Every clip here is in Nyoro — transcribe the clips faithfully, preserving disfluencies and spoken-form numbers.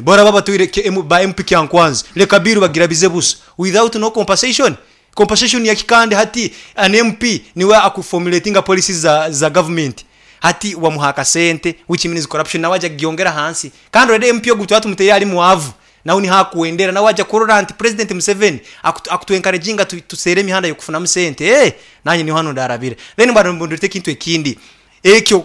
Boraba batwire ke- M- ba M P Kyankwanzi, leka biru bagirabize busa without no compensation. Compensation ya kikande hati an M P niwe akuformulatinga policies za, za government, hati wamuha akasente, which means corruption nawe ajya kugyongera hansi. Kandi already M P ogu tuba tumuteye ari mwavu, nawe nihakuwendera, nawe ajya kurora nti President Museveni akutu, akutu encouraginga tu, tusere emihanda yokufunamu sente, eh nanye niho hano ndarabira. Then bado mbundurite ekintu ekindi ekyo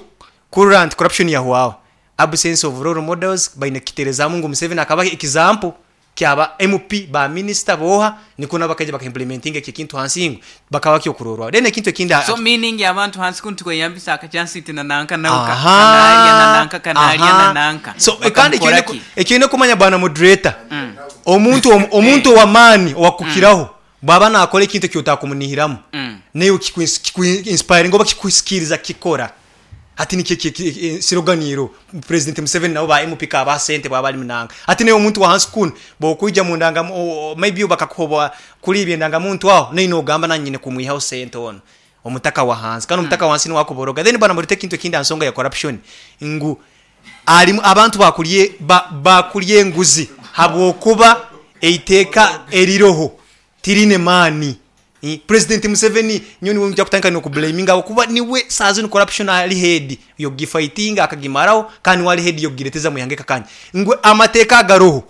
kurora nti corruption yahwaho, absence of role models. Baine kiterezamu ngu Museveni akaba example kyaba M P, ba minister boha niko nabakaija bakaimplementinga ekyo kintu hansi ngu bakaba kyokurorwa. Then ekintu ekindi So meaning abantu hansi kuntu kweyambisa akachansi tina nanka nauka Aha, kanalya na nanka kanalya aha. na nanka. So eh, kandi Bakamukora ekyo ki? Ekyo kumanya, bwana moderator, omuntu om- omuntu ow'amaani owakukiraho bwaba nakora ekintu ekyotakumunihiramu, Mm. naye kikuinspiringa oba kikusikiriza kikora. Hati nikyo siroganiro President Museveni nabo ba M P kaba sente bwaba ali munanga, ati naye omuntu wa hansi kuno bwokwija mu ndanga o- maybe bakakuhoba kuri ibyo muntu aho, naye nogamba nanyine kumwihaho sente ono omutaka wa hansi, kandi omutaka wa hansi niwe akuboroga. Then bwana moderator, ekintu ekindi nsonga ya corruption ngu alimu abantu bakulye ba, bakulye enguzi habwokuba eiteeka eriroho tirine maani. Eh, president Museveni nyo niwe nja kutandika nokublaminga kuba niwe saa zino corruption ali head yogifightinga akagimaraho, kandi wali head yogireteza muyange kakanya ngwe amateeka agaroho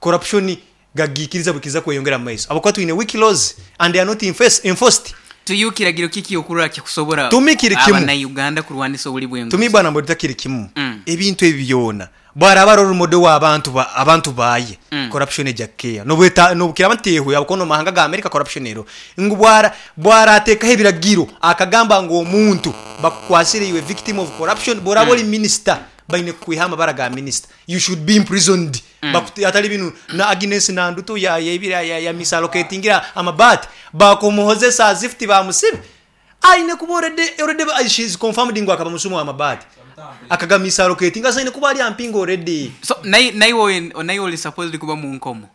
corruption gagikiriza bukiza kweyongera mu maiso, abakuba twine weak laws and they are not enforced, enforced. Tuyu kiragiro kiki okurora kikusobora Tumi kiri kimu. Abannayuganda kurwanisa obuli bw'enguzi? Tumi, bwana moderator, kiri kimu. Mm. Ebintu ebi byona bwaraba role model w'abantu ba, abantu baye, Mm. corruption ejya keya nobweta nobukira batehu yabukono mahanga ga America corruption ero ngu bwara bwaratekaho ebiragiro akagamba ngu omuntu bakukwasire, iwe victim of corruption, boraba ori minister, baine kukwiha amabara ga minister, you should be imprisoned. mm. Atali binu na Agnes Nandutu ya ya ya, ya, ya misallocatingira amabati, bakumuhozesa as if bamusibe, aine kuba already already she is confirmed ngu akaba musumo w'amabati akagamisallocatinga, aine kuba ali ampinga already. So naye naye naye oli supposed kuba mu nkomo.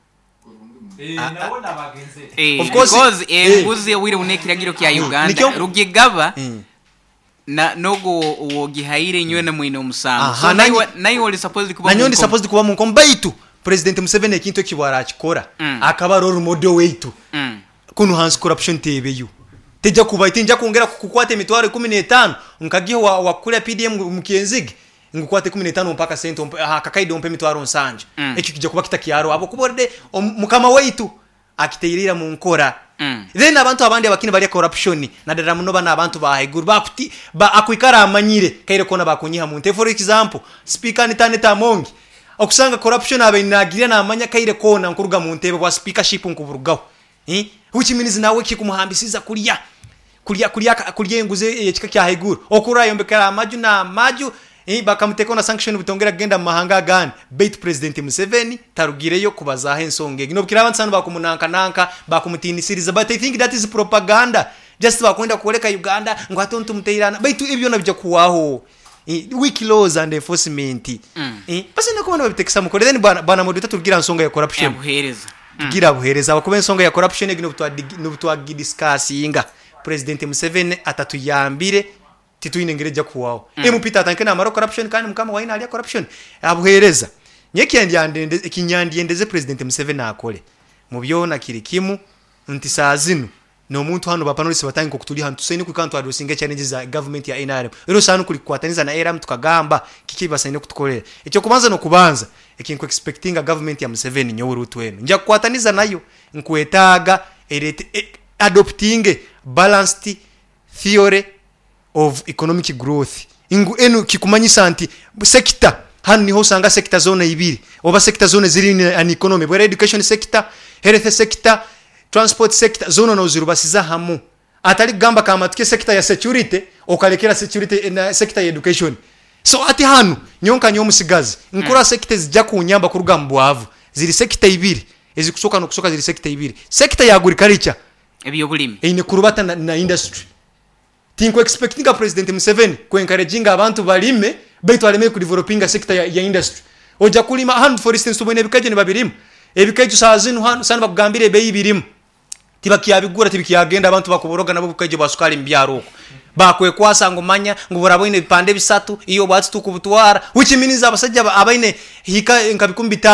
Nabona bagenze. Eh, Of course, because eh. enguzi owire une ekiragiro kya Uganda Nikyo- rugigaba Mm. na nogo wogihaire inywe na mwine omusango. Aha, So nanyi- naye naye oli supposed kuba nanyo mu ndi nkomo. supposed kuba mu nkomo, baitu President Museveni ekintu eki bwarakikora, Mm. akaba role model weitu, Mm. kuno hansi corruption tebeyo, tejja kuba tinja kwongera kukwata emitwaro ikumi n'etaano nkagiho wa, wa kulya P D M mukyenzige ngukwate ikumi n'etaano mpaka sente ompe- aha, kakaide ompe emitwaro nsanja. Mm. Ekyo kijja kuba kitakyaro abo kuba already om- mukama waitu akiteirira mu nkora. Mm. Then abantu abandi abakini balya corruption naddala muno bano abantu bahaiguru bakuti ba, akwikara amanyire kaire kona bakunyiha muntu. For example, Speaker Anita Among, okusanga corruption abe nagira namanya kaire kona nkuruga mu ntebe bwa speakership nkuburugaho, eh which means nawe kikumuhambisiza kulya kulya kulya kulya enguzi ekika kya haiguru okurayombekera amaju na amaju, eh, bakamuteka na sanction butongera kugenda mu mahanga agandi, baitu President Museveni tarugireyo kubazaho ensonga egi nobukira abantu sanu bakumunanka nanka bakumutinisiriza, but I think that is propaganda, just bakwenda kuoleka Uganda ngu ate ntumuteirana, baitu ebyo nabijja kuwaho. Eh, weak laws and enforcement. Mm. eh, basi nakubona babitekesa mukore. Then bwana bwana moderator, tugira nsonga ya corruption. Abuhereza. Tugira buhereza abakuba ensonga ya corruption egi nobutwagidiscussinga, President Museveni atatuyambire titwine engeri ejja kuwaho. mm. M P tatanke namara corruption, kandi mukama waine alya corruption abuhereza. Nye ekinyandyendeze President Museveni akole mu byona kiri kimu nti saa zino n'omuntu hano bapanelist batangika okutuli hano tusaine kwikana twaddressinga challenges za government ya N R M, era osaana kulikwataniza na N R M tukagamba kiki basaine kutukolera. Ekyokubanza n'okubanza ekinku expectinga government ya Museveni, nyowe Rutu eno nja kukwataniza nayo, nkwetaaga erete e, adoptinge balanced theory of economic growth. Ngu enu kikumanyisa nti sector hano niho usanga sector zone ibiri oba sector zone ziri in an economy, bwera education sector, health sector, transport sector, zone nozirubasiza hamu, atali kugamba kamatuke sector ya security okalekera security na sector ya education. So ati hano nyonka nyomusigazi nkura mm. sector zijja kunyamba kuruga mu bwavu ziri sector ibiri ezikusoka nokusoka, ziri sector ibiri: sector ya agriculture, ebyobulimi, eine kurubata na, na industry. Tinku expectinga President Museveni ku encouraginga abantu balime, baitu aleme ku developinga sector ya, ya industry. Ojja kulima hano, for instance, tubone ebikajo ne babirimu ebikajo saa zino hano sana bakugambira ebeyi birimu tibakyabigura, tibikyagenda, abantu bakuboroga nabo bukajo bwa sukali mu byaro okwo bakwekwasa ngo manya ngo buraboine ebipande bisatu iyo bwatsi tukubutwara, which means abasajja abaine hika nka bikumi bitano.